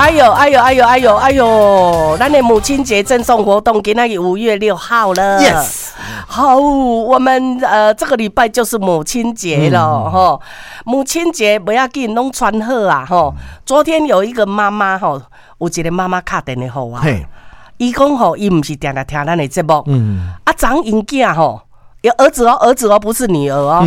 哎呦哎呦哎呦哎呦哎呦！咱的母親節贈送活動，今仔日5月6號了。 Yes。好，我們這個禮拜就是母親節了吼。母親節不要緊，攏穿好啊吼。昨天有一個媽媽吼，有一個媽媽敲電話予我，伊講吼，伊毋是定定聽咱的節目，啊，昨昏𪜶囝吼，有兒子哦，兒子哦，不是女兒哦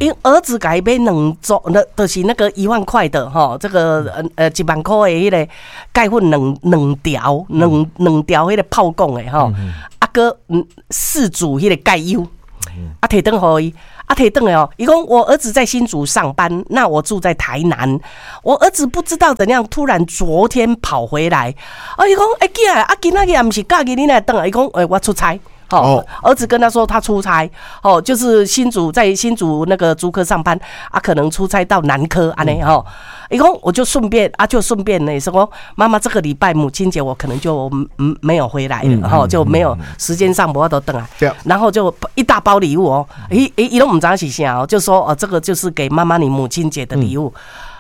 ，𪜶兒子共伊買兩組，那就是那個1萬塊的吼，這個1萬塊的彼個鈣粉兩條，兩條彼個泡貢的吼，啊閣四組彼個鈣優，啊提轉予伊，啊提轉來哦，伊講我兒子在新竹上班，那我住在台南，我兒子不知道怎樣，突然昨天跑回來，啊伊講欸囝啊，今仔日也毋是假日，你哪會轉來？伊講欸我出差。哦，兒子跟他說他出差，哦，就是新竹在新竹那個竹科上班，啊，可能出差到南科按呢吼，伊講我就順便啊，就順便呢，說媽媽這個禮拜母親節我可能就沒有回來了，吼，就沒有時間上無法度轉來，然後就一大包禮物哦，伊伊伊攏毋知是啥哦，就說哦，這個就是給媽媽你母親節的禮物。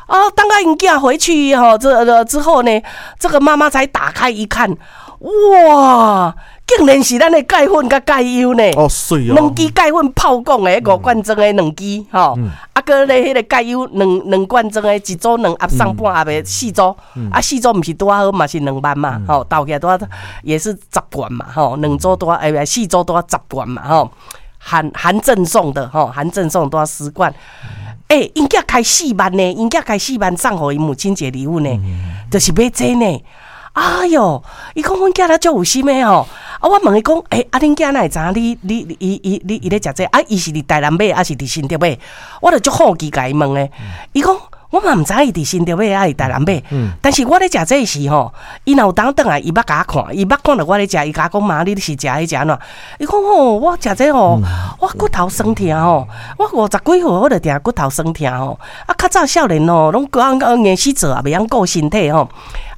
哦，當𪜶囝回去吼，這之後呢，這個媽媽才打開一看，哇！竟然是咱的鈣粉佮鈣優呢！哦，媠哦！兩支鈣粉泡貢的五罐裝的兩支吼，啊，閣咧彼個鈣優兩罐裝的，一組兩盒送半盒的四組，啊，四組毋是拄仔好嘛是2萬嘛，吼，鬥起來拄仔也是10罐嘛，吼，兩組拄仔欸，四組拄仔十罐嘛，吼，含贈送的吼，含贈送拄仔10罐。欸，𪜶囝開四萬呢，𪜶囝開四萬送予伊母親節禮物呢，就是買這呢。哎喲，伊講阮囝咧足有心的吼，啊，我問伊講，欸，啊，恁囝哪會知影你你伊伊你伊咧食這？啊，伊是佇台南買，抑是佇新竹買？我就足好奇共伊問的。伊講我嘛毋知伊佇新竹買，抑是台南買。但是我咧食這時吼，伊若有當轉來，伊捌共我看，伊捌看著我咧食，伊共我講媽，你是食彼食按怎？伊講吼，我食這吼，我骨頭酸疼吼，我50幾歲我就定骨頭酸疼吼。啊，較早少年吼，攏講硬死做也袂曉顧身體吼。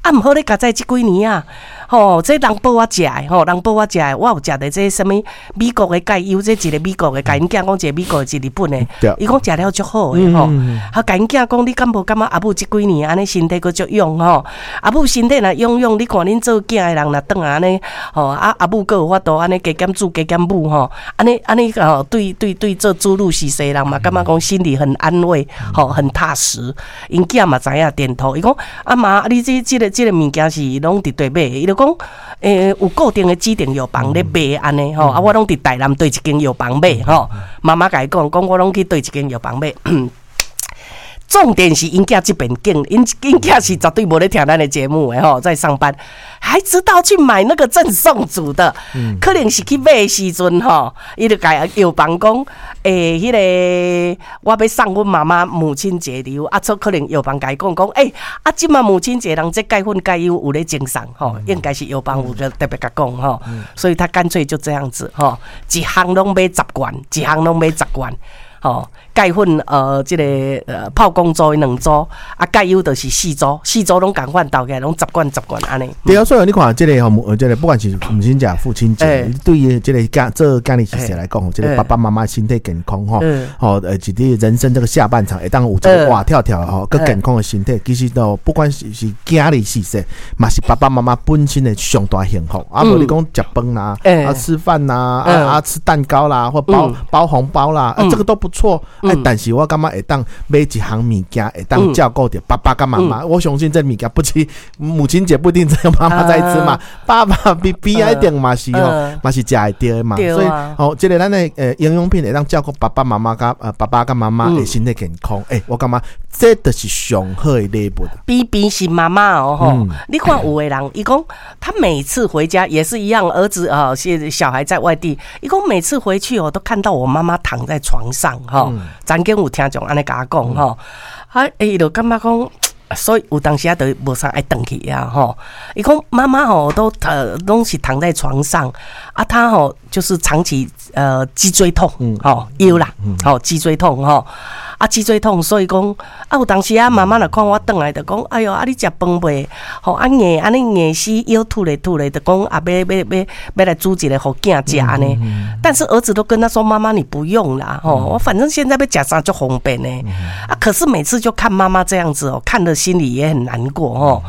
啊，毋好咧，佳哉這幾年啊，吼，這人報我食的，吼，人報我食的，我有食著這啥物美國的鈣優，這一個美國的，共𪜶囝講一個美國的，一個日本的，伊講食了足好的吼。啊，共𪜶囝講，你敢無感覺阿母這幾年按呢身體閣足勇吼？阿母身體若勇勇，你看恁做囝的人若轉來按呢，吼，啊阿母閣有法度按呢加減煮加減母吼，按呢按呢吼，對對對，做子女婿的人嘛，感覺講心裡很安慰，吼，很踏實。𪜶囝嘛知影點頭，伊講阿媽，你這這個這個物件是攏佇佗買的？伊就講，欸，有固定的指定藥房咧賣按呢吼，啊，我攏佇台南佗一間藥房買吼。媽媽共伊講，講我攏去佗一間藥房買。重點是𪜶囝這邊竟，𪜶囝是絕對無咧聽咱的節目的吼，在上班，還知道去買那個贈送組的，可能是去買的時陣吼，伊就共藥房講，欸，彼個我欲送阮媽媽母親節禮物，啊，這可能藥房共伊講講，欸，啊，這馬母親節人這鈣粉鈣優有咧贈送吼，應該是藥房有個特別共講吼，所以他乾脆就這樣子吼，一項攏買十罐，一項攏買十罐。吼，鈣粉這個泡貢組兩組，啊，鈣優就是四組，四組攏仝款鬥起來攏十罐十罐按呢。對啊，所以你看這個吼，這個不管是母親節、父親節，對於這個囝做囝兒婿來講，這個爸爸媽媽身體健康吼，吼一個人生這個下半場會當有這個活跳跳吼，閣健康的身體，其實都不管是是囝兒婿婿，嘛是爸爸媽媽本身的上大幸福。啊，無你講食飯啦，啊吃飯啦，啊啊吃蛋糕啦，或包包紅包啦，啊這個都不錯。欸，但是我感覺會當買一項物件，會當照顧著爸爸佮媽媽。我相信這物件不止母親節不一定只有媽媽在吃嘛，爸爸比比一定嘛是吼，嘛是食會著的嘛。所以吼，這個咱的營養品會當照顧爸爸媽媽佮爸爸佮媽媽的身體健康。欸，我感覺這就是上好的禮物。偏偏是媽媽哦吼，你看有的人，伊講他每次回家也是一樣，兒子啊，是小孩在外地，伊講每次回去我都看到我媽媽躺在床上吼。曾經有聽眾按呢共我講吼，啊，伊就感覺講，所以有當時啊，就無啥愛轉去啊吼。伊講媽媽吼都攏是躺在床上，啊，她吼就是長期脊椎痛，吼腰啦，吼脊椎痛吼。啊，脊椎痛，所以講啊，有當時啊，媽媽若看我轉來，就講，哎喲，啊，你食飯未？吼，啊硬，按呢硬死腰吐咧吐咧，就講啊，欲欲欲欲來煮一个予囝食按呢。但是兒子都跟他說，媽媽你不用啦，吼，我反正現在欲食啥足方便呢。啊，可是每次就看媽媽這樣子哦，看得心裡也很難過吼。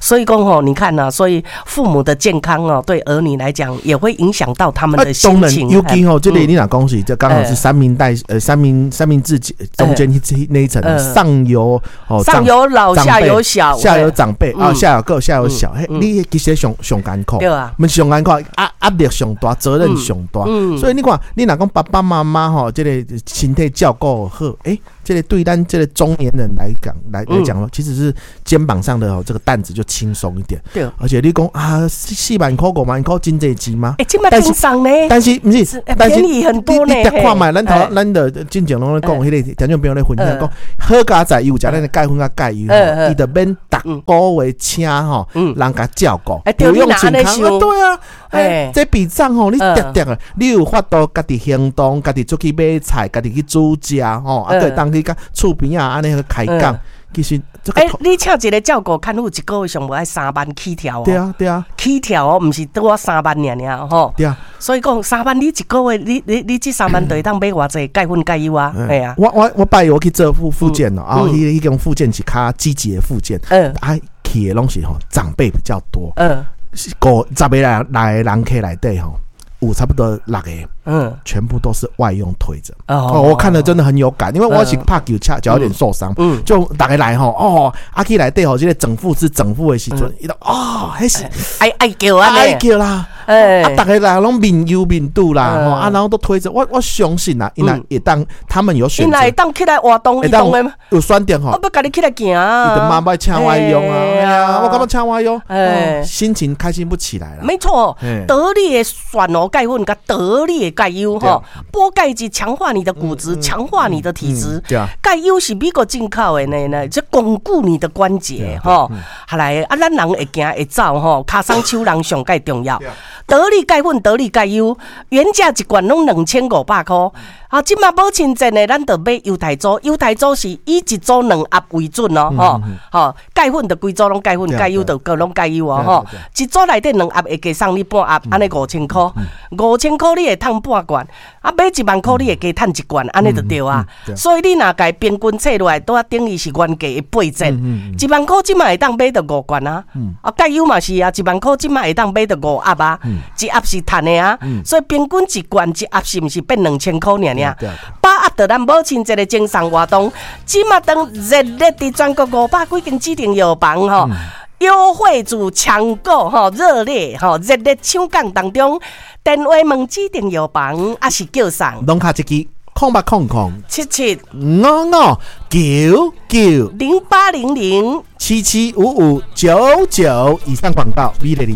所以講吼，你看啊，所以父母的健康哦，對兒女來講也會影響到他們的心情。尤其吼，這裡你若講是，這剛好是三明代三明治中間那一層，上有哦，上有老，下有小，下有長輩啊，下有個，下有小，嘿，你其實上上艱苦，對啊，毋是上艱苦，壓力上大，責任上大，所以你看，你若講爸爸媽媽吼，這個身體照顧好，欸，這個對咱這個中年人來講來講咯，其實是肩膀上的這個擔子就輕鬆一點。對，而且你講啊，4萬塊5萬塊真濟錢嗎？欸，這麼輕鬆呢？但是毋是，但是便宜很多呢。你看覓，咱頭咱的進前攏咧講，彼個聽眾朋友咧分享講，好佳哉，伊有食咱的鈣粉佮鈣油，伊就免逐個月請吼人共照顧，不用請看。對啊，欸，這筆帳吼，你直直啊，你有法度家己行動，家己出去買菜，家己去煮食吼，啊，對，當去佮厝邊仔按呢去開講。其實，欸，你請一個照顧看護，一個月上無愛三萬起跳哦。對啊，對啊，起跳哦，毋是拄仔三萬爾爾吼。對啊。所以講三萬，你一個月，你這三萬就會當買偌濟鈣粉鈣油啊？係啊。我拜我去做復健咯，啊，彼種復健是較積極的復健。啊，去的攏是吼長輩比較多。五十個人來人客內底吼，有差不多六個，全部都是外傭推著。哦，我看了真的很有感，因為我是拍球，腳腳有點受傷，就逐家來吼，哦，啊去內底吼，這個整復師整復的時陣，伊就哦，彼是愛愛叫啊，愛叫啦，啊，逐家來攏面憂面肚啦，吼，啊，然後都推著，我相信啦，𪜶若會當他們有選擇，𪜶若會當起來活動，會當有選擇吼，我欲共你起來行啊，伊就媽欲請外傭啊，我感覺請外傭，心情開心不起來啦。沒錯，得力的蒜頭鈣粉佮得力的鈣油吼，補鈣質強化你的骨質，強化你的體質。鈣油是美國進口的呢呢，這鞏固你的關節吼。後來啊，咱人會行會走吼，跤鬆手人上蓋重要。得力鈣粉，得力鈣油，原價一罐攏2500塊。啊，這馬母親節呢，咱就買猶太組，猶太組是以一組兩盒為準哦，吼，吼，鈣粉就規組攏鈣粉，鈣油就閣攏鈣油哦，吼，一組內底兩盒會加送你半盒，按呢5000塊，5000塊你會趁半罐，啊，買1萬塊你會加趁一罐，按呢就對啊。所以你若共平均計落來，拄仔等於是原價的八折，1萬塊這馬會當買著五罐啊，啊，鈣油嘛是啊，一萬塊這馬會當買著五盒啊，一盒是趁的啊，所以平均一罐一盒是毋是變2000塊爾爾？把握著咱母親節的贈送活動，這馬當熱烈佇全國500幾間指定藥房吼，優惠組搶購吼，熱烈吼，熱烈搶購當中，電話問指定藥房，抑是叫送。攏敲一支0800 77 5599 0800 775599。以上廣告，美麗。